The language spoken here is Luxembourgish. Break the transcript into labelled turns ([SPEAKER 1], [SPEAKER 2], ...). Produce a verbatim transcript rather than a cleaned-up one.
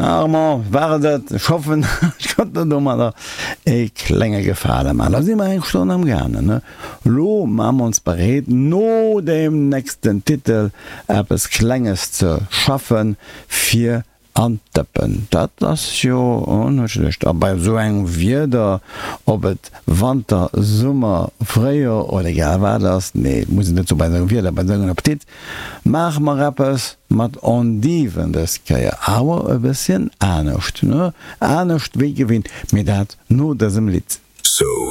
[SPEAKER 1] Armand, war et et? Ech hoffen, ech konnt der domadder e klenge Gefale man. Da si mer eng Stonn am gaangen, ne? Lo maache mer ons bereet, no deem nächsten Titel eppes Klenges ze schaffen, fir an d'Dëppen. Dat ass jo net schlecht. A bei esou engem Wieder, ob et Wanter, Summer, Fréijoer oder egal wat ass, nee, muss et net soen, bei esou engem Wieder, bei esou engem Appetit, maache mer eppes mat Endiven dës Kéier, awer e bësschen anescht, ne? Anescht wéi gewinnt, mee dat no dësem Lidd.
[SPEAKER 2] So.